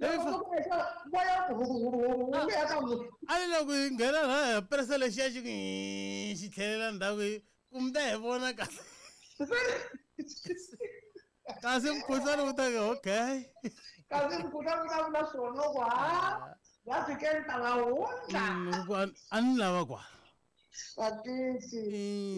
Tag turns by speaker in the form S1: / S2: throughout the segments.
S1: Loko ku exa moya wu ya ka munhu.
S2: A ni loko hi nghena laha hi presa lexiya xi ku xi tlhelela ndzhaku hi ku mi ta hi vona kahle. Kasi mukhuhlwani wu ta ku okay.
S1: Kasi mukhuhlwani wu ta vula swona ku ha va fike ni ta va hundza.
S2: Ku a ni lava kwala.
S1: Vatisi.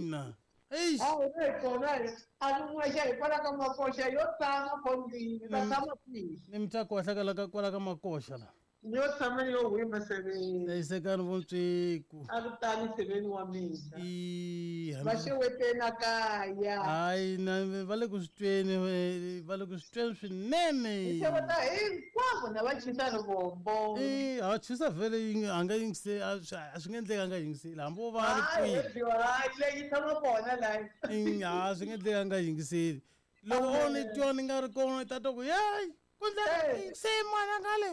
S2: Ina. Eish.
S1: A hi ri kona hi a ni n'wexe hikwalaho ka makoxa yo tshama fondini ni ta tshama kwihi?
S2: Ni mi ta kohla kwala ka kwala ka makoxa la.
S1: Ni yo tshama ni yo hwima seveni.
S2: Hlayisekani vontsweku.
S1: A ku tali seveni wa mina.
S2: Ii,
S1: Va xeweteni a kaya.
S2: Hayi na va le ku swi tweni va le ku swi tweni swinene.
S1: Ni xeweta hinkwavo na va chisa rivombo.
S2: Eh, a chisa vhele yi a nga yingiseli a swi a swi nge endleki a nga yingiseli hambi wo va a ri
S1: Hayi,
S2: kwihi.
S1: hayi leyi tshama kona layi.
S2: A swi nge endleki a nga yingiseli. Loko o ni twa ni nga ri kona i ta twa ku yeyi ku ndleka se n'wana ngale.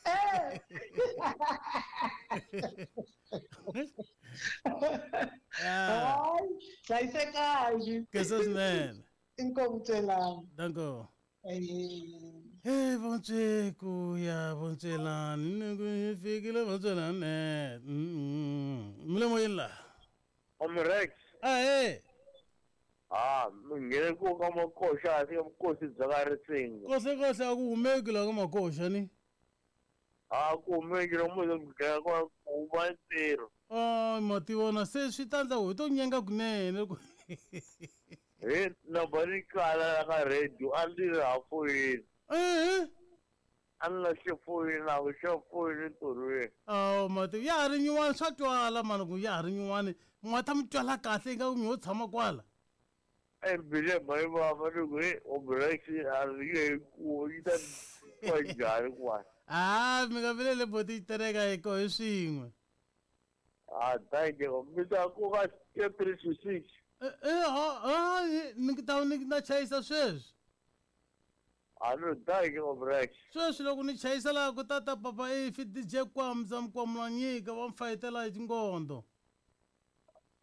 S1: Eh. Hayi, hlayisekani.
S2: Khensa swinene.
S1: Inkomu Celani.
S2: Danko.
S1: Eh.
S2: Hey vontsweku ya vontswelani ni ku hi fikile vontswelani. Mi le moyeni la.
S3: Omrex.
S2: Ahee.
S3: Ah, mi nghene ku ka makoxa a fika vukosi bya ka Risinga.
S2: Kohle kohle a ku humeki la ka makoxa ni.
S3: A ku humeki lomu hi ku dlaya kwa ku huma ntirho.
S2: Ay ma ti vona se swi ta endla ku hi to nyenga kunene loko
S3: He na ba ni kala la ka radio a ni ri ha foyini.
S2: Ehe.
S3: A ni lahle foyini na ku xa foyini ntirhweni.
S2: Awu ma ti ya ha ri nyuwani swa twala mani ku ya ha ri nyuwani mi ta mi twala kahle ingaku mi ho tshama kwala.
S3: E mbilu ya mhani vava ni ku he Omrex a ri nge he ku yi ta kwa njhani kwala.
S2: Ah mi nga vileli boti yi tereka hi koho hi swin'we.
S3: Ah thank you. Mi ta ku ka 3 to 6.
S2: Eh eh ha ni ta ni ta chayisa sweswi.
S3: A no thank you Omrex.
S2: Sweswi loko ni chayisa laha ku tata papa ifi DJ Kwamza Mkwamulanyika va mi fayetela hi tingondo.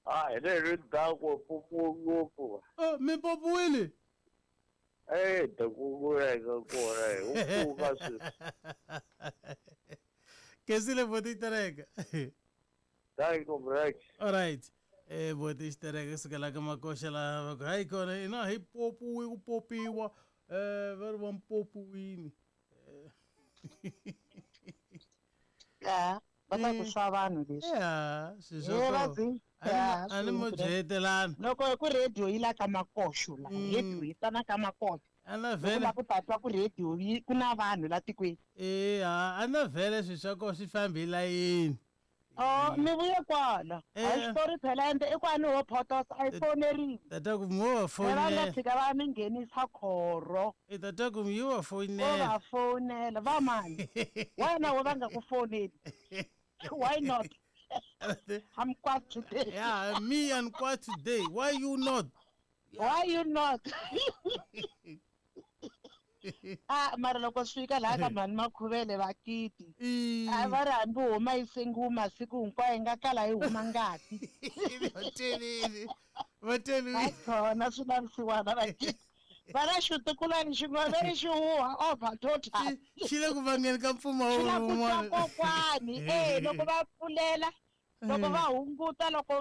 S3: Ah hi le ri dako popo ngopfu.
S2: Eh mi popiwile?
S3: Eh ta ku veka kona hi ku pfuka sweswi.
S2: Kesile boti tereka.
S3: Thank you Omrex.
S2: All right. Eh boti xitereka kusukela ka makoxa laha va ku hayi kona ina hi popiwi ku popiwa eh va ri va mpopiwini.
S4: Ya, va ta ku swa vanhu leswi.
S2: Ya, swi
S4: Eh,
S2: swa
S4: va
S2: kona.
S4: dzi- Ya,
S2: A ni mo
S4: swi-
S2: byetelana.
S4: Loko hi ku radio yi la ka makoxo la, radio yi tana ka makoxo.
S2: A na
S4: Loko
S2: vhele.
S4: la ku ta twa ku radio yi ku na vanhu la tikweni.
S2: Eh, a na vhele swi swa kona swi fambi hi layeni.
S4: Oh, mi vuye kwala.
S2: Eh.
S4: A xitori phela ende i kwani ho photosa a yi foneriwi.
S2: Tata ku mo va
S4: Phela va nga
S2: fonela.
S4: tshika va mi nghenisa khoro.
S2: Eh tata ku yi va
S4: Vo
S2: fonela.
S4: va fonela va mani. Wena wo va nga ku foneli. Why not? I'm quite today.
S2: Yeah, me and quite today. Why you not?
S4: Why you not? Ah, mara loko swi fika laha ka mhani Makhuvele va kiti. A va ri hambi huma yi sengiwa masiku hinkwayo yi nga kala yi huma ngati.
S2: Va Vatelini.
S4: Hayi khona swi lavisiwana va kiti. Va ra xitukulwana xin'wana va ri xi huha over total.
S2: Xi le ku vangeni ka
S4: Xi la
S2: mpfumawulo
S4: ku twa
S2: wun'wana.
S4: kokwani eh loko va pfulela loko va hunguta loko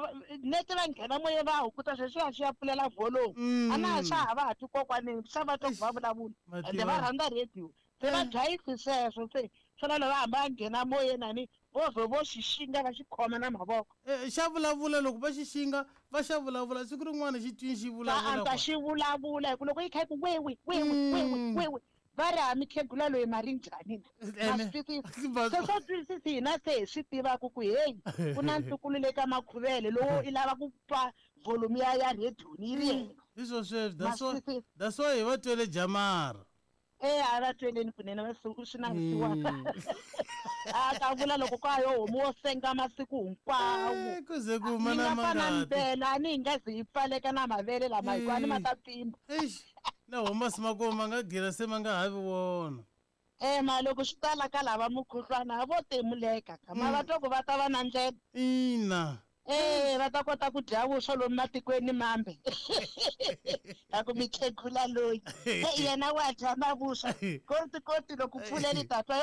S4: neti va nghena moyeni va hunguta sweswiya swi ya pfulela volume. A na ha swa ha va ha twi kokwanini swa va twa ku va vulavula. Ende va rhandza radio. Se va dlayisi sweswo se swona loko va hamba va nghena moyeni ani vo vhe vo xi xinga va xi khoma na mavoko.
S2: Eh, xa vulavula loko va xi xinga va xa vulavula siku rin'wana xi twini xi
S4: Va
S2: vulavula.
S4: antswa xi vulavula hi ku loko yi kha yi ku wewe wewe wewe wewe va ri ha mikhegula loyi mari njhani na? Ma swi twisisa? Se swo twisisi hina se hi swi tivaka ku heyi ku na ntukulu le ka Makhuvele lowo i lava ku twa volume ya ya radio ni yi ri yena.
S2: Hi swo sweswo
S4: Ma swi twisisa?
S2: that's why hi va twele jamara.
S4: Eh a va tweleni kunene va swi na vusiwana. A ta vula loko ka yo homu wo senga masiku hinkwawo.
S2: Ku ze ku huma
S4: Yi
S2: na
S4: nga fana
S2: mangati.
S4: ndlela a ni yi nga ze yi pfaleka na mavele lama hikuva ni ma ta pfimba.
S2: Eish, na homa masi ma kona ma nga gira se ma nga ha vi wona.
S4: Eh ma loko swi ta la ka lava mukhuhlwana a vo timuleka ka ma va twa ku va ta va na ndlela.
S2: Ina.
S4: Eh va ta kota ku dya vuswa lomu matikweni mambe. A ku mikhegula loyi. Eh yena wa dya na vuswa. Koti koti loko pfuleli ta twa